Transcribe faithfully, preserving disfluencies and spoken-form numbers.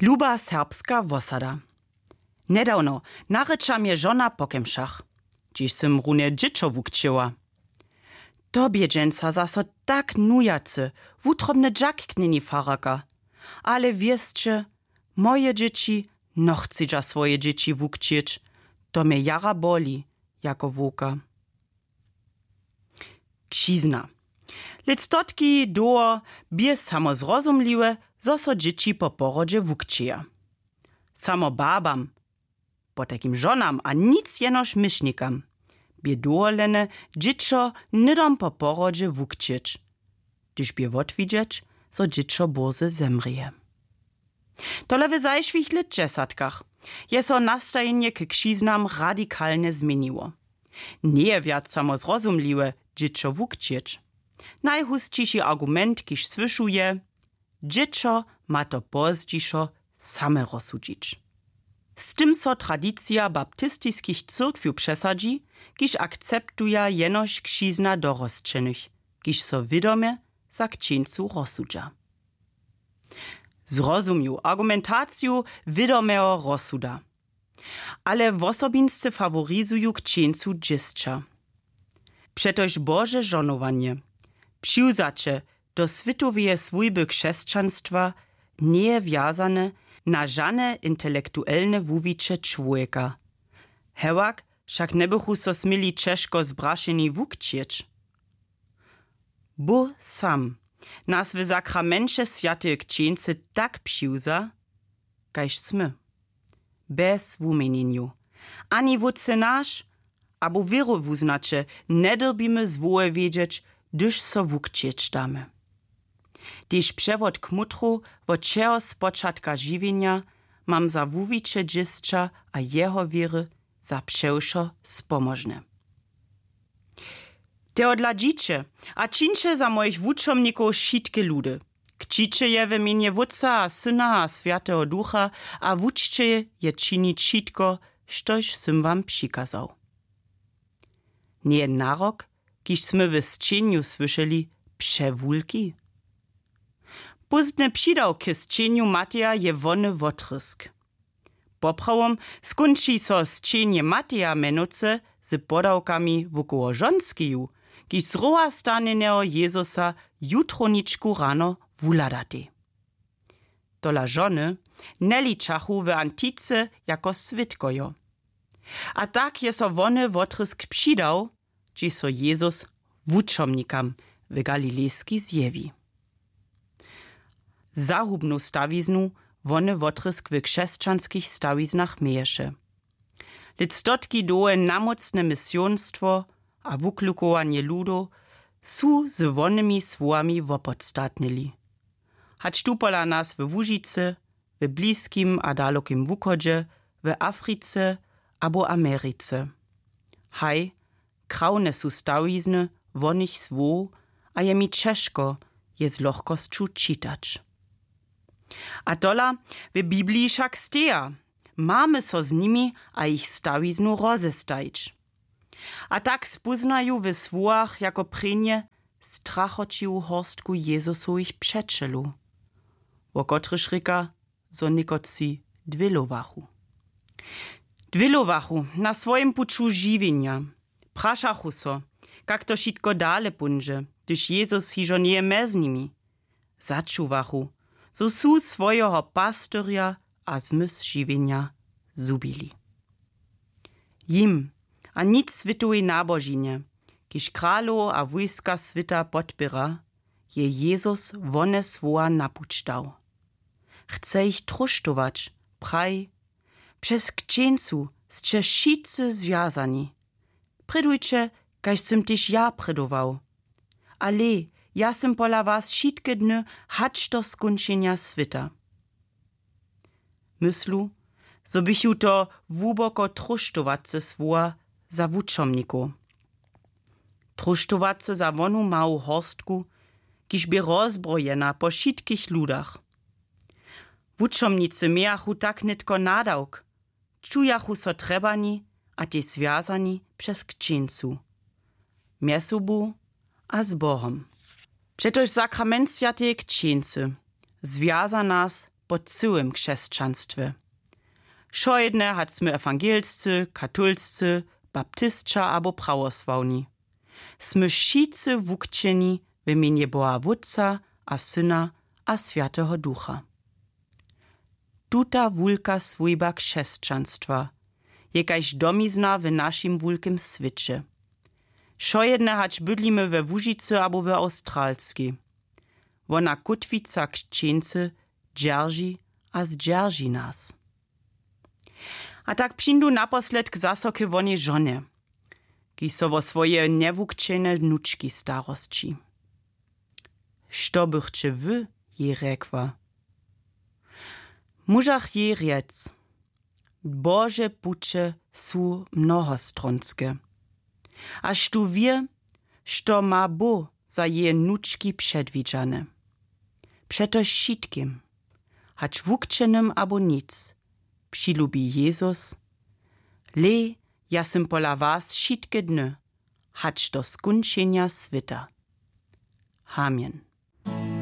Luba serbska wosada. Njedawno narěča mje žona po kemšach, hdźež sym runje dźěćo wukćěła. To bě dźensa zaso tak nujacy, wutrobny dźak k njeni fararka. Ale wěsće, moje dźěći nochcedźa swoje dźěći wukćěć. To mje jara boli jako wowka. Křizna. Lětstotki dołho bě samo zrozumliwe, zo so dźěći po porodźe wukćěja. Samo babam, potajkim žonam a nic jenož myšnikam, bě dowolene, dźěćo hnydom po porodźe wukćěć, hdyž bě wotwidźeć, zo dźěćo bórze zemrěje. Tole w zašłych lětdźesatkach je so nastajenje k křiznam radikalnje změniło. Njeje wjac samo zrozumliwe, dźěćo wukćěć. Najhusćiši argument, kiž słyšu, je: Dźěćo ma to pozdźišo same rozsudźić. Z tym so tradicija baptistiskich cyrkwjow přesadźi, kiž akceptuja jenož křizna dorosćenych, kiž so wědomje za křćeńcu rozsudźa. Zrozumju argumentaciju wědomeho rozsuda, ale wosobinsce faworizuju křćeńcu dźěsća. Přetož Bože žonowanje, přiwzaće do swětoweje swójby křesćanstwa, njeje wjazane na žane intelektuelne wuwiće čłowjeka. Hewak wšak njebychu so směli ćežko zbrašeni wukćěć. Bóh sam nas w sakramenće swjateje křćeńcy tak přiwza, kaž smy, bez wuměnjenjow, ani Wótče naš abo wěrowuznaće njedyrbimy zwołe wědźeć, hdyž so wukćěć damy. Tež přewod kmutru wot wšeho spočatka žiwjenja mam za wuwiće dźěsća a jeho wěry za přewšo spomožne. Tehodla dźiće a čińće za mojich wučomnikow wšitke ludy. Kćiće je w mjenje Wótca a Syna a Swjateho Ducha a wučće je činić wšitko, štož sym wam přikazał. Njeje narok, kiž smy w sćenju słyšeli, přewulki? Pózdny přidawk k sćenju Mateja je wony wotrězk. Poprawom skónči so sćenje Mateja mjenujcy z podawkami wokoło žonskeju, kiž z roha stanjeneho Jezusa jutrowničku rano wuhladatej. Tola žony njeličachu w antice jako swědkojo. A tak je so wony wotrězk přidał, hdźež so Jezus wučomnikam w Galilejskej zjewi. Zahubnu stawiznu wony wotrězk w křesćanskich stawiznach měješe. Lětstotki dołhe namócne misionstwo a wuklukowanje ludow su z wonymi słowami wopodstatnili. Hač tu pola nas w Łužicy, w Bliskim a Dalokim Wuchodźe, w Africe abo Americe. Haj, krawne su stawizny wonych słow a je mi ćežko je z lochkosću čitać. A tola w Bibliji wšak steja, mamy so z nimi a jich stawiznu rozestajić. A tak spóznaju w słowach jako prěnje strachoćiwu horstku Jezusowych přećelow, wo kotrychž rěka, zo někotři dwělowachu. Dwělowachu na swojim puću žiwjenja. Prašachu so, kak to wšitko dale póńdźe, hdyž Jezus hižo njeje mjez nimi. Začuwachu, zo su swojeho pastyrja a zmysł žiwjenja zhubili. Jim a nic swětowej nabožinje, kiž kralow a wójska swěta podpěra, je Jezus wone słowa na puć dał. Chce jich tróštować, praji: Přez křćeńcu sće wšitcy zwjazani. Prědujće, kaž sym tež ja prědował. Ale ja sym pola was wšitke dny hač do skónčenja swěta. Myslu, zo běchu to hłuboko tróštowace słowa za wučomnikow. Tróštowace za wonu mału horstku, kiž bě rozbrojena po wšitkich ludach. Wučomnicy mějachu tak nětko nadawk, čujachu so trjebani a tež zwjazani přez křćeńcu, mjez sobu a z Bohom. Přetož sakrament swjateje křćeńcy zwjaza nas po cyłym křesćanstwje. Wšojedne hač smy ewangelscy, katolscy, baptisća abo prawosławni, smy wšitcy wukćeni w mjenje Boha Wótca a Syna a Swjateho Ducha. Tuta wulka swójba křesćanstwa je kaž domizna w našim wulkim swěće. Wšojedne hač bydlimy we Łužicy abo w Awstralskej, wona kótwica křćeńcy dźerži a zdźerži nas. A tak přińdu naposledk zaso k wonej žonje, kiž so wo swoje njewukćene wnučki starosći. Što bychće wy jej rjekła? Móžach jej rjec: Bože puće su mnohostronske. A štó wě, što ma Bóh za jeje wnučki předwidźane? Přetož wšitkim, hač wukćenym abo nic, přilubi Jezus: Hlej, ja sym pola was wšitke dny, hač do skónčenja swěta. Amen.